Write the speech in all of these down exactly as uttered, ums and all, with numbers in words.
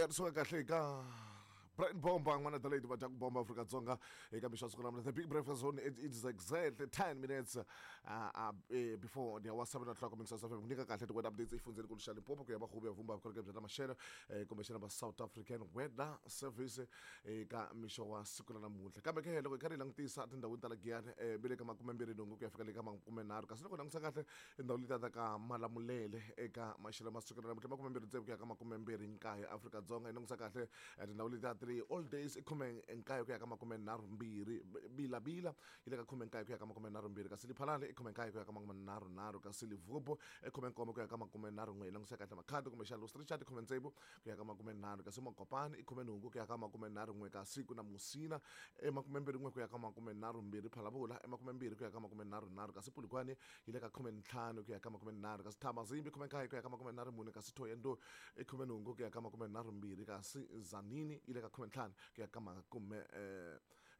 Ri kahle ka Brian Bomba n'wana Adelaide va dya ku bomba Afrika-Dzonga eka mixo siku namuntlha. The Big Breakfast Zone, it is exactly ten minutes uh, uh, before the hour seven o'clock. Mixo F M ku nyika kahle ti-weather updates exifundzeni nkulu xa Limpopo ku ya va ya vumba vukorhokeri bya ta maxelo kumbexana va South African Weather Service eka mixo wa siku ra namuntlha. Kambe ke loko hi karhi hi langutisa tindhawini ta la Giyani bi le ka makumembirhi nhungu ku ya fika le ka makumenharhu, kasi loko hi langutisa kahle tindhawu letiya ta ka Malamulele eka maxelo ma siku ra namuntlha makumembirhi tsevu ku ya ka makumembirhi nkaye Afrika-Dzonga. Hi langutisa kahle tindhawu letiya three all days i khume nkaye ku ya ka makume nharhu mbirhi, Bila-Bila yi le ka khume nkaye ku ya ka makume nharhu mbirhi, kasi Lephalale i khume nkaye ku ya ka makume nharhu nharhu, kasi Limpopo i khume nkombo ku ya ka makume nharhu n'we. Hi langutisa kahle Makhado kumbexana Louis Trichardt i khume tsevu ku ya ka makume nharhu, kasi Mokopane i khume nhungu ku ya ka makume nharhu n'we, kasi ku na Musina i makume mbirhi n'we ku ya ka makume nharhu mbirhi, Phalaborwa i makume mbirhi ku ya ka makume nharhu nharhu, kasi Polokwane yi le ka khume ntlhanu ku ya ka makume nharhu, kasi Thabazimbi khume nkaye ku ya ka makume nharhu mune, kasi Thohoyandou i khume nhungu ku ya ka makume nharhu mbirhi, kasi Tzaneen yi le ka khume ntlhanu ku ya ka makume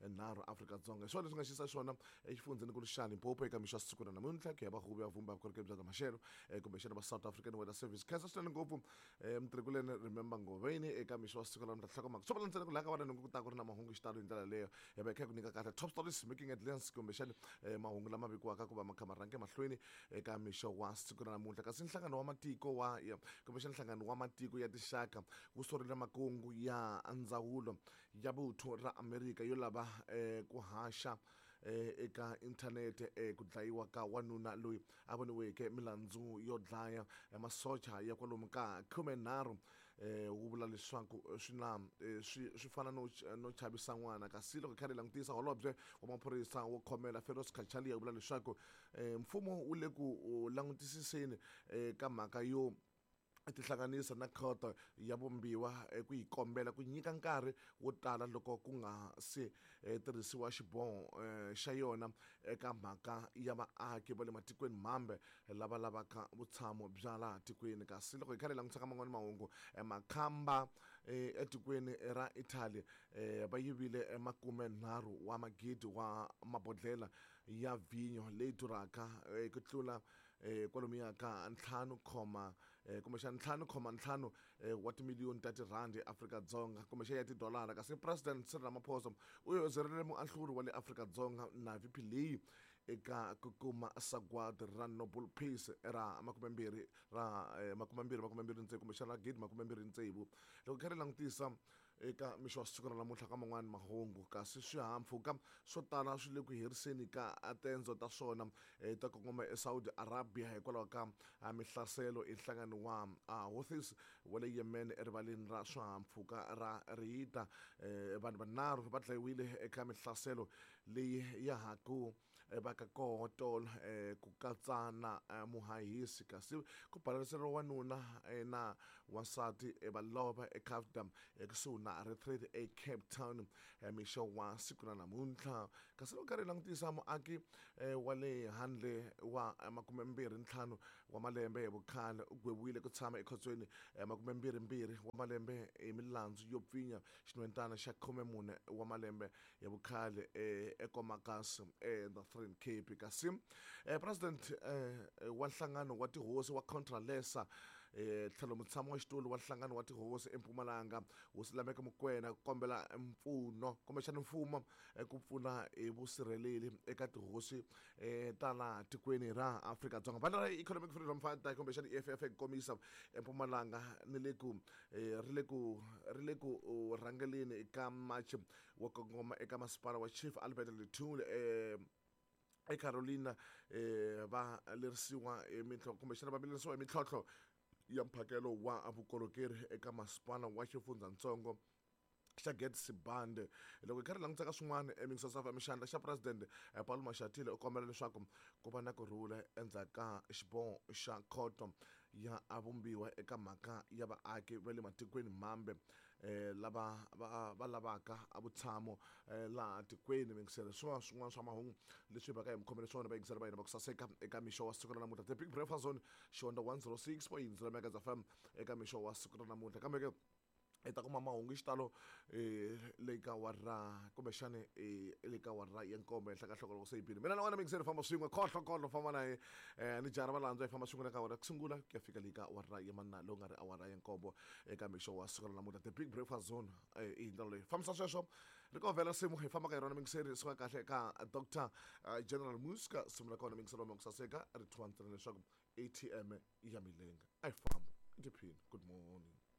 nharhu Afrika-Dzonga. Hi swona leswi nga xisa xona exifundzeni nkulu xa Limpopo eka mixo ya siku ra namuntlha ku ya va huvo ya vumba vukorhokeri bya ta maxelo kumbexana va South African Weather Service. Khensa swinene ngopfu mutirhikuleni Remember Ngoveni eka mixo wa siku ra namuntlha. Nhlokomhaka swo vula ntsena ku laha ka vana nhungu ku ta ku ri na mahungu xitalo hi ndlela leyo hi va hi kha hi ku nyika kahle top stories making headlines kumbexana mahungu lama vikiwaka ku va ma kha ma rhange mahlweni eka mixo wa siku ra namuntlha. Kasi nhlangano wa matiko wa kumbexana nhlangano wa matiko ya tinxaka wu sorile makungu ya ndzawulo ya vuthu ra Amerika yo lava eh, ku haxa eh, eka inthanete eh, ku dlayiwa ka wanuna loyi a voniweke milandzu yo dlaya masocha ya kwalomu ka khumenharhu eh, wu vula leswaku swi na swi swi fana no no chavisa n'wana. Kasi loko hi karhi hi langutisa holobye wa maphorisa wo khomela Feroz Cachalia wu vula leswaku eh, mfumo wu le ku langutisiseni eh, ka mhaka yo tihlanganisa na khoto ya vumbiwa ku yi kombela ku nyika nkarhi wo tala loko ku nga se tirhisiwa xiboho xa yona eka mhaka ya vaaki va le matikweni mambe lava lavaka vutshamo bya laha tikweni. Kasi loko hi karhi hi langutisa ka man'wani mahungu, makhamba etikweni ra Italy va yivile makume nharhu wa magidi wa mabodlela ya vhinyo leyi durhaka ku tlula kwalomuya ka ntlhanu khoma kumbexana ntlhanu khoma ntlhanu wa timiliyoni ta tirhandi Afrika-Dzonga kumbexana ya tidolara. Kasi President Cyril Ramaphosa u yozerile muahluri wa le Afrika-Dzonga Navi Pillay eka ku kuma sagwadi ra Nobel Peace ra makumembirhi ra makumembirhi makumembirhi ntsevu kumbexana ra gidi makumembirhi ntsevu. Loko hi karhi hi langutisa eka mixo wa siku ra namuntlha ka man'wani mahungu, kasi swihahampfhuka swo tala swi le ku heriseni ka tendzo ta swona ta kongoma eSaudi Arabia hikwalaho ka mihlaselo hi nhlangano wa Houthis wa le Yemen erivaleni ra swihahampfhuka ra Riyadh. Vanhu vanharhu va dlayiwile eka mihlaselo leyi ya ha ku vaka koho tolo ku katsa na muhahisi, kasi ku balanseriwa wanuna na wansati va lova eKafdam ekusuhi na Retreat e Cape Town mixo wa siku ra namuntlha. Kasi loko karhi hi langutisa muaki wa le handle wa makumembirhi ntlhanu wa malembe hi vukhale u gweviwile ku tshama ekhotsweni makumembirhimbirhi wa malembe hi milandzu yo pfinya xinhwentana xa khume mune wa malembe ya vukhale eKomakas eNorthern Cape. Kasi president wa nhlangano wa tihosi wa Contralesa tlhelo mutshami wa xitulu wa nhlangano wa tihosi eMpumalanga Hosi Lameke Mokoena ku kombela mpfuno kumbexana mfumo ku pfuna hi vusirheleli eka tihosi ta laha tikweni ra Afrika-Dzonga. Vandla ra Economic Freedom Fighter kumbexana E F F ku komisa eMpumalanga ni le ku ri le ku ri le ku rhangeleni ka march wo kongoma eka masipala wa Chief Albert Luthuli eCarolina va lerisiwa hi mintlhontlho kumbexana va vilerisiwa hi mintlhontlho ya mphakelo wa vukorhokeri eka masipala wa xifundzatsongo xa Gert Sibande. Loko hi karhi hi langutisa ka swin'wana eMixo F M, xandla xa president Paul Mashatile u kombela leswaku ku va na kurhula endzhaku ka xiboho xa khoto ya vumbiwa eka mhaka ya vaaki va le matikweni mambe lava va va lavaka vutshamo laha tikweni. Mingiselo swin'wana swin'wana swa mahungu leswi va ka hi mi khomele swona vayingiseri va hina va ku saseka eka mixo wa siku ra namuntlha. The Big Breakfast Zone Xihonda one zero six point zero Megahertz F M eka mixo wa siku ra namuntlha. Kambe ke Hi ta kuma mahungu hi xitalo um le ka awara kumbexani um le ka awara ya nkombo henhla ka nhloko loko se yi bile. Mina na wena mingiseri famba swin'we khohlo khohlo famba na ye um ni jara valandzwa hi famba swin'we le ka awara ku sungula ku ya fika le ka awara ya manna lowu nga ri awara ya nkombo eka mixo wa siku ra namuntlha, The Big Breakfast Zone. um i hi ndlela leyi fambisa sweswo ri ko vhela simu hi fambaka hi rona mingiseri suka kahle ka Doctor General Muska. Simu ra kona mingiseri wa ku saseka ri thyiwa ntsena leswaku A T M ya milenge. A hi famba tiphini. Good morning.